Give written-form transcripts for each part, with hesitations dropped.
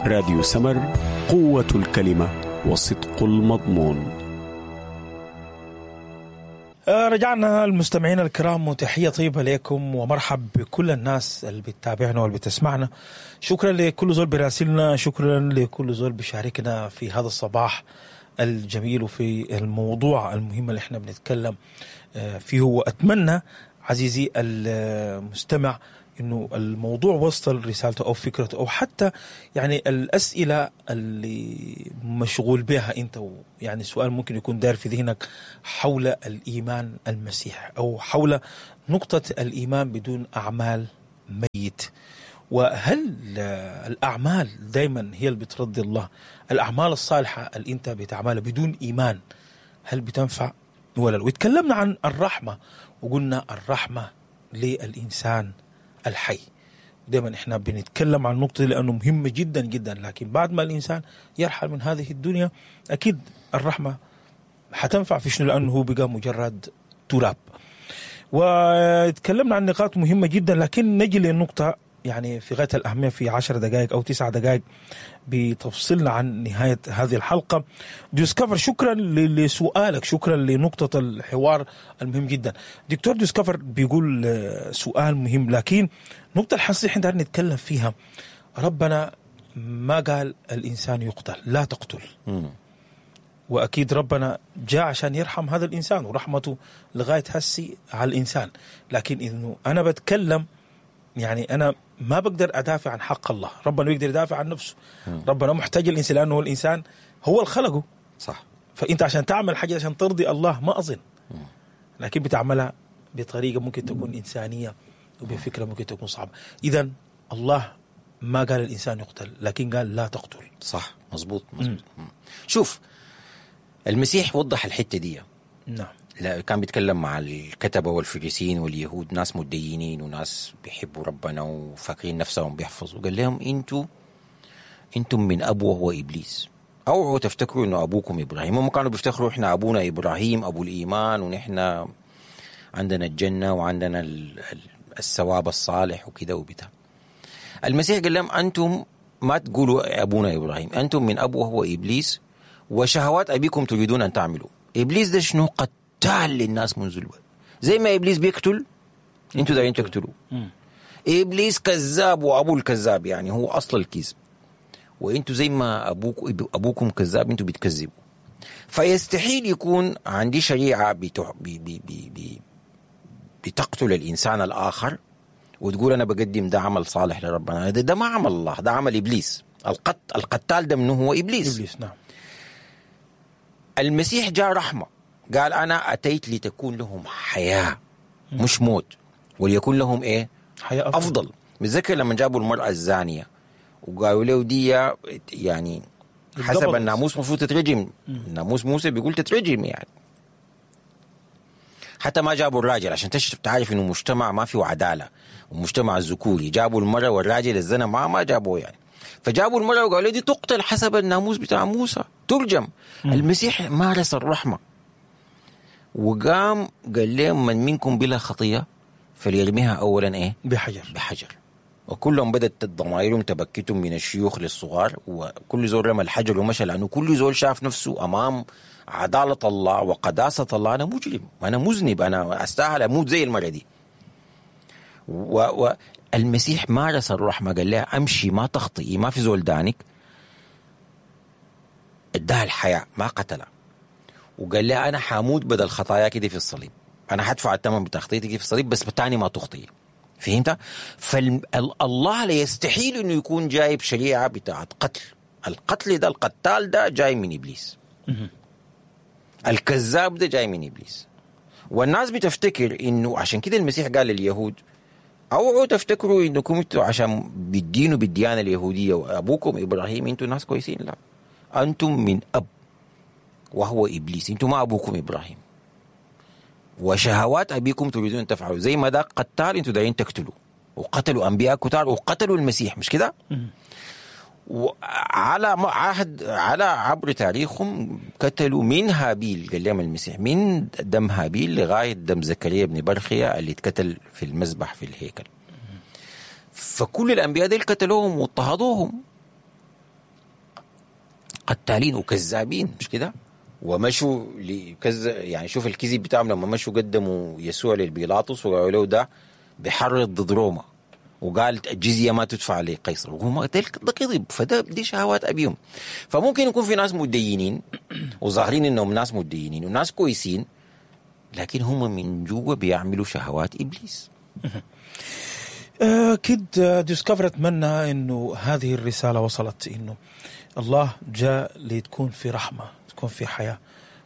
راديو سمر، قوة الكلمة وصدق المضمون. رجعنا المستمعين الكرام، وتحية طيبة لكم ومرحب بكل الناس اللي بتتابعنا واللي بتسمعنا. شكرا لكل زول براسلنا، شكرا لكل زول بيشاركنا في هذا الصباح الجميل وفي الموضوع المهم اللي احنا بنتكلم فيه. واتمنى عزيزي المستمع انه الموضوع وصل رسالته او فكرته او حتى يعني الاسئلة اللي مشغول بها انت، يعني سؤال ممكن يكون داير في ذهنك حول الايمان المسيح او حول نقطة الايمان بدون اعمال ميت، وهل الاعمال دايما هي اللي بترضي الله؟ الاعمال الصالحة اللي انت بتعملها بدون ايمان هل بتنفع ولا لا؟ وتكلمنا عن الرحمة وقلنا الرحمة للانسان الحي. دايما احنا بنتكلم عن النقطة دي لأنه مهمة جدا جدا، لكن بعد ما الإنسان يرحل من هذه الدنيا أكيد الرحمة حتنفع في شنو؟ لأنه هو بقى مجرد تراب. وتكلمنا عن نقاط مهمة جدا، لكن نجي للنقطة يعني في غاية الأهمية في 10 دقائق أو 9 دقائق بتفصلنا عن نهاية هذه الحلقة. ديسكفر، شكرا لسؤالك، شكرا لنقطة الحوار المهم جدا. دكتور ديسكفر بيقول سؤال مهم، لكن نقطة الحساسية احنا نتكلم فيها، ربنا ما قال الإنسان يقتل، لا تقتل. وأكيد ربنا جاء عشان يرحم هذا الإنسان ورحمته لغاية هسي على الإنسان، لكن إنه أنا بتكلم يعني أنا ما بقدر أدافع عن حق الله، ربنا بيقدر يدافع عن نفسه. ربنا محتاج الإنسان لأنه هو الإنسان هو اللي خلقه. صح. فأنت عشان تعمل حاجة عشان ترضي الله ما أظن، لكن بتعملها بطريقة ممكن تكون إنسانية وبفكرة ممكن تكون صعبة. إذن الله ما قال الإنسان يقتل، لكن قال لا تقتل. صح، مزبوط مزبوط. شوف المسيح وضح الحتة دي. نعم. لا، كان بيتكلم مع الكتبة والفريسيين واليهود، ناس متدينين وناس بيحبوا ربنا وفاكرين نفسهم بيحفظوا. قال لهم انتم من أبو وهو إبليس، اوعوا تفتكروا انه أبوكم إبراهيم. هم كانوا بيفتخروا احنا أبونا إبراهيم أبو الإيمان، ونحن عندنا الجنة وعندنا الثواب الصالح وكده وبتاع. المسيح قال لهم انتم ما تقولوا أبونا إبراهيم، انتم من أبو وهو إبليس، وشهوات أبيكم تريدون أن تعملوا. إبليس ده شنو؟ قتال للناس منذ البدء. زي ما إبليس بيقتل انتوا دايرين تقتلوا. إبليس كذاب وأبو الكذاب، يعني هو أصل الكذب، وانتوا زي ما أبوكم كذاب انتوا بتكذبوا. فيستحيل يكون عندي شريعة بتقتل الإنسان الآخر وتقول أنا بقدم ده عمل صالح لربنا. ده ما عمل الله، ده عمل إبليس. القتال ده منه هو إبليس. إبليس، نعم. المسيح جاء رحمة، قال أنا أتيت لتكون لهم حياة مش موت، وليكون لهم إيه؟ حياة أفضل. متذكر لما جابوا المرأة الزانية وقالوا له دي يعني حسب الناموس مفروض تترجم، ناموس موسى بيقول تترجم يعني. حتى ما جابوا الراجل عشان تعرف إنه مجتمع ما فيه عدالة ومجتمع الذكوري، جابوا المرأة والراجل الزنا ما جابوه يعني. فجابوا المرأة وقالوا دي تقتل حسب الناموس بتاع موسى، ترجم. المسيح مارس الرحمة وقام قال لهم من منكم بلا خطية فليرميها أولا إيه؟ بحجر. بحجر. وكلهم بدأت ضمائرهم تبكتهم من الشيوخ للصغار، وكل زول رمى الحجر ومشى، لأنه كل زول شاف نفسه أمام عدالة الله وقداسة الله، أنا مجرم، أنا مذنب، أنا أستاهل أموت زي المرة دي. والمسيح مارس الرحمة، قال لها أمشي ما تخطئي، ما في زول دانك، اداها الحياة ما قتلها، وقال لها أنا حاموت بدل خطاياك دي في الصليب، أنا هدفع الثمن بتخطيتك في الصليب، بس تاني ما تخطئي. فهمت؟ فالله لا يستحيل إنه يكون جايب شريعة بتاعت قتل. القتل ده، القتال ده جاي من إبليس، الكذاب ده جاي من إبليس. والناس بتفتكر إنه عشان كده المسيح قال لليهود اوعوا تفتكروا إنكم انتوا عشان بالدين وبالديانة اليهودية وأبوكم إبراهيم انتوا ناس كويسين. لا، أنتم من أب وهو إبليس، أنتم ما أبوكم إبراهيم، وشهوات أبيكم تريدون تفعلوا. زي ما ده قتال أنتوا دايرين تقتلوا، وقتلوا أنبياء كتار وقتلوا المسيح، مش كده؟ وعلى عهد على عبر تاريخهم قتلوا من هابيل، قال لهم المسيح من دم هابيل لغاية دم زكريا بن برخيا اللي اتقتل في المذبح في الهيكل. فكل الأنبياء دول قتلوهم واضطهدوهم. قتالين وكذابين، مش كده؟ ومشوا لكذا، يعني شوف الكذب بتاعهم لما مشوا قدموا يسوع للبيلاطس وقالوا له ده بحرض ضد روما وقال الجزية ما تدفع لقيصر، وهم ده كذب. فده دي شهوات ابيهم. فممكن يكون في ناس متدينين وظاهرين انهم ناس متدينين وناس كويسين، لكن هم من جوا بيعملوا شهوات ابليس. أكيد ديسكفر، أتمنى أنه هذه الرسالة وصلت، أنه الله جاء لتكون في رحمة، تكون في حياة،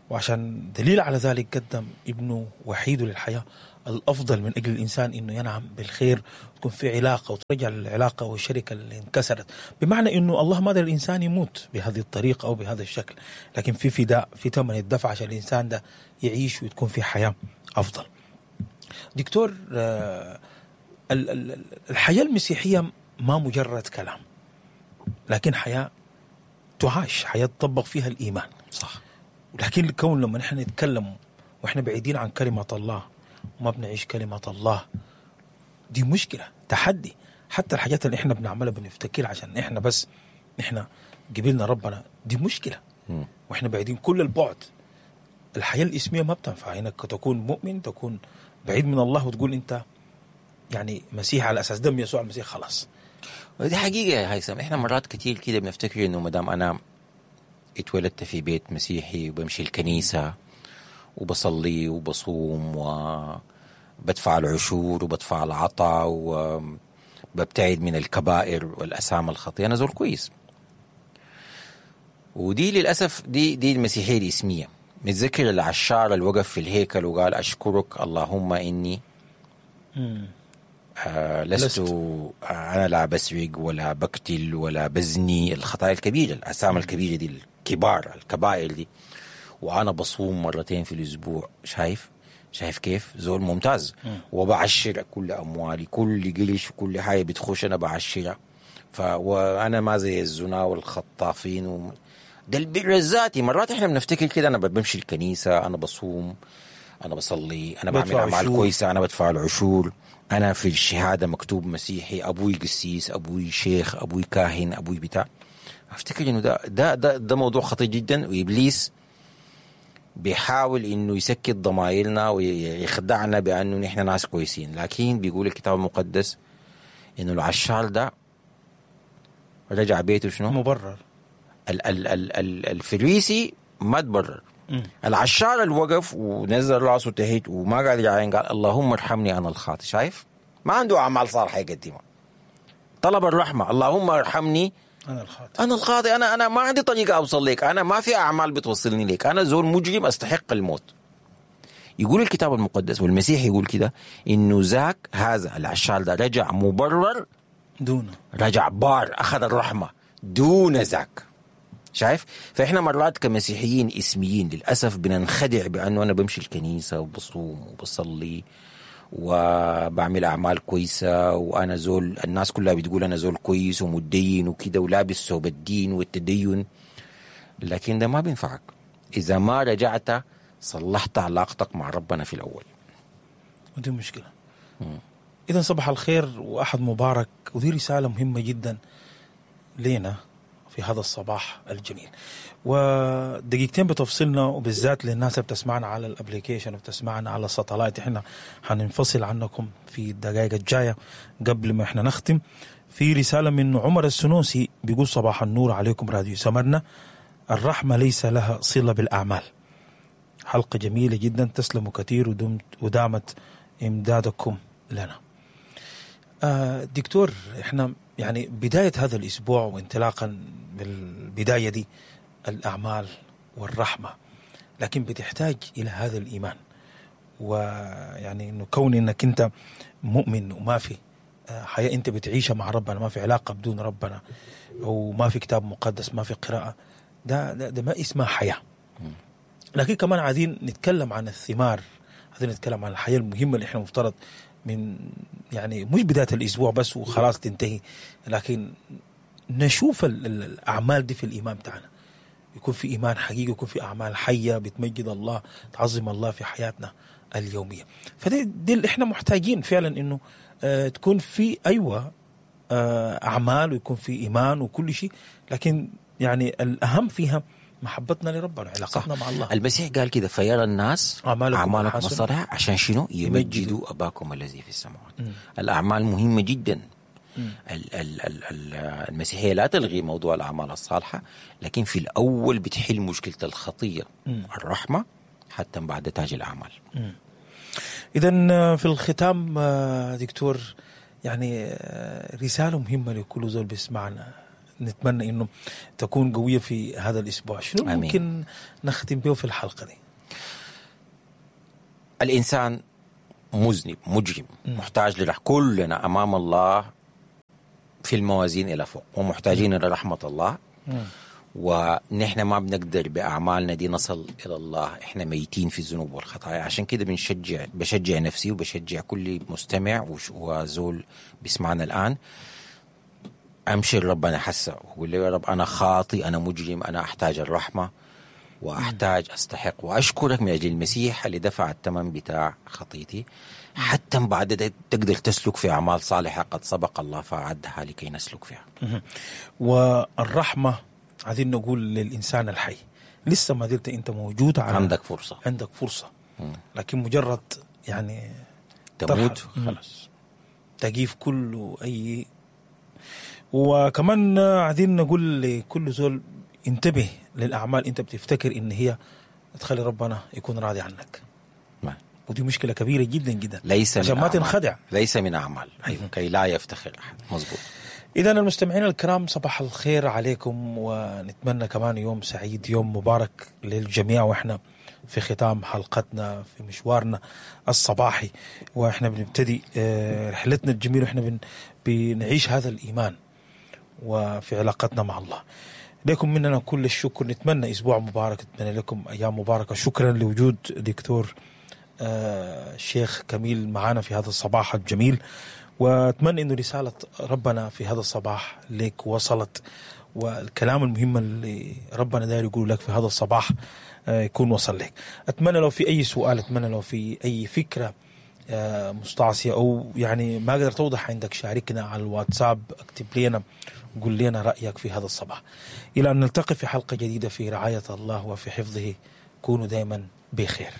وعشان دليل على ذلك قدم ابنه وحيده للحياة الأفضل من أجل الإنسان، أنه ينعم بالخير، تكون في علاقة وترجع العلاقة والشركة اللي انكسرت. بمعنى أنه الله ما دار الإنسان يموت بهذه الطريقة أو بهذا الشكل، لكن في فداء، في ثمن الدفع عشان الإنسان ده يعيش وتكون في حياة أفضل. دكتور، الحياة المسيحية ما مجرد كلام، لكن حياة تعاش، حياة تطبق فيها الإيمان. صح. ولكن الكون لما نحن نتكلم وإحنا بعيدين عن كلمة الله وما بنعيش كلمة الله، دي مشكلة، تحدي. حتى الحاجات اللي إحنا بنعملها بنفتكر عشان إحنا بس إحنا قبلنا ربنا، دي مشكلة. وإحنا بعيدين كل البعد. الحياة الإسمية ما بتنفع إنك تكون مؤمن، تكون بعيد من الله وتقول أنت يعني مسيح على أساس دم يسوع المسيح خلاص. ودي حقيقة يا هيثم، إحنا مرات كتير كده بنفتكر إنه مدام أنا اتولدت في بيت مسيحي وبمشي الكنيسة وبصلي وبصوم وبدفع العشور وبدفع العطاء وببتعد من الكبائر والأسام الخطيئة، أنا زول كويس. ودي للأسف دي المسيحية الإسمية. متذكر العشار اللي وقف في الهيكل وقال أشكرك اللهم إني لست أنا لا بسرق ولا بقتل ولا بزني، الخطايا الكبيرة، الأسام الكبيرة دي، الكبار، الكبائر دي، وأنا بصوم مرتين في الأسبوع. شايف كيف زول ممتاز، وبعشر كل أموالي، كل قرش وكل حاجة بتخش أنا بعشرها، وأنا ما زي الزنا والخطافين ده البر الذاتي. مرات إحنا بنفتكر كده، أنا بمشي الكنيسة، أنا بصوم، أنا بصلي، أنا بعمل أعمال كويسة، أنا بدفع العشور، أنا في الشهادة مكتوب مسيحي، أبوي قسيس، أبوي شيخ، أبوي كاهن، أبوي بتاع. أفتكر إنه ده ده ده ده موضوع خطير جدا، وإبليس بيحاول إنه يسكت ضمائرنا ويخدعنا بأنه نحن ناس كويسين، لكن بيقول الكتاب المقدس إنه العشار ده رجع بيته شنو؟ مبرر. ال ال ال ال الفريسي ما تبرر. العشار اللي وقف ونزل راسه تحت وما قال يعين، قال اللهم ارحمني انا الخاطئ. شايف؟ ما عنده اعمال صالحه يقدمها، طلب الرحمة، اللهم ارحمني انا الخاطئ، انا الخاطئ، انا ما عندي طريقه اوصل لك، انا ما في اعمال بتوصلني لك، انا زول مجرم استحق الموت. يقول الكتاب المقدس والمسيح يقول كده انه ذاك هذا العشار ده رجع مبرر دونه، رجع بار، اخذ الرحمة دون ذاك. شايف؟ فإحنا مرات كمسيحيين اسميين للأسف بننخدع بأنه أنا بمشي الكنيسة وبصوم وبصلي وبعمل أعمال كويسة، وأنا زول الناس كلها بتقول أنا زول كويس ومتدين وكده ولابس ثوب الدين والتدين، لكن ده ما بينفعك إذا ما رجعت صلحت علاقتك مع ربنا في الأول. ودي مشكلة. إذا صباح الخير وأحد مبارك، ودي رسالة مهمة جدا لنا في هذا الصباح الجميل. ودقيقتين بتفصلنا، وبالذات للناس اللي بتسمعنا على ال application وبتسمعنا على ال satellite، احنا هننفصل عنكم في الدقائق الجاية. قبل ما احنا نختم، في رسالة من عمر السنوسي بيقول صباح النور عليكم راديو سمرنا، الرحمة ليس لها صله بالاعمال. حلقة جميلة جدا، تسلموا كثير ودامت امدادكم لنا. دكتور، احنا يعني بداية هذا الأسبوع وانطلاقا بالبداية دي الأعمال والرحمة، لكن بتحتاج إلى هذا الإيمان، ويعني إنه كون إنك أنت مؤمن وما في حياة أنت بتعيشها مع ربنا، ما في علاقة بدون ربنا، وما في كتاب مقدس، ما في قراءة، ده ده, ده ما اسمها حياة. لكن كمان عايزين نتكلم عن الثمار، عايزين نتكلم عن الحياة المهمة اللي احنا مفترض من يعني مش بداية الأسبوع بس وخلاص تنتهي، لكن نشوف الأعمال دي في الإيمان بتاعنا، يكون في إيمان حقيقي، يكون في أعمال حية بتمجد الله، تعظم الله في حياتنا اليومية. فدي دي اللي احنا محتاجين فعلا، إنه تكون في أيوة أعمال ويكون في إيمان وكل شيء، لكن يعني الاهم فيها محبتنا لربنا، علاقتنا مع الله. المسيح قال كده: فيرى الناس أعمالكم أعمالكم الحسنة. الصالحة عشان شنو؟ يمجدوا أباكم الذي في السماوات. الأعمال مهمة جدا. المسيحية لا تلغي موضوع الأعمال الصالحة، لكن في الأول بتحل مشكلة الخطية، الرحمة، حتى بعد تاج الأعمال. اذا في الختام دكتور، يعني رسالة مهمة لكل زول بيسمعنا، نتمنى انه تكون قوية في هذا الاسبوع، شنو آمين. ممكن نختم به في الحلقة دي؟ الإنسان مذنب مجرم محتاج لرحمة. كلنا أمام الله في الموازين إلى فوق، ومحتاجين إلى رحمة الله. ونحن ما بنقدر بأعمالنا دي نصل إلى الله، إحنا ميتين في الذنوب والخطايا. عشان كده بشجع نفسي وبشجع كل مستمع وزول بيسمعنا الآن، أمشي لربنا حسه وأقول له: يا رب أنا خاطي، أنا مجرم، أنا أحتاج الرحمة وأحتاج أستحق، وأشكرك من أجل المسيح اللي دفع الثمن بتاع خطيتي، حتى بعد ده تقدر تسلك في أعمال صالحة قد سبق الله فأعدها لكي نسلك فيها. والرحمة عايزين نقول للانسان الحي، لسه ما زلت انت موجود على عندك فرصة. عندك فرصة، لكن مجرد يعني تموت ترحل. خلاص. تجيف كله اي. وكمان عايزين نقول لكل زول: انتبه للاعمال انت بتفتكر ان هي تخلي ربنا يكون راضي عنك. نعم. ودي مشكلة كبيرة جدا جدا. ليس من عشان ما أعمال. تنخدع. ليس من أعمال، أيوة. كي لا يفتخر أحد. مظبوط. اذا المستمعين الكرام، صباح الخير عليكم، ونتمنى كمان يوم سعيد، يوم مبارك للجميع، واحنا في ختام حلقتنا في مشوارنا الصباحي، واحنا بنبتدي رحلتنا الجميلة، واحنا بنعيش هذا الايمان وفي علاقتنا مع الله. لكم مننا كل الشكر، نتمنى اسبوع مبارك، نتمنى لكم ايام مباركة. شكرا لوجود دكتور الشيخ كميل معنا في هذا الصباح الجميل، واتمنى انه رسالة ربنا في هذا الصباح لك وصلت، والكلام المهم اللي ربنا داير يقوله لك في هذا الصباح يكون وصل لك. اتمنى لو في اي سؤال، اتمنى لو في اي فكرة مستعصيه او يعني ما قدرت توضح عندك، شاركنا على الواتساب، اكتب لنا، قول لنا رايك في هذا الصباح. الى ان نلتقي في حلقة جديدة في رعاية الله وفي حفظه، كونوا دائما بخير.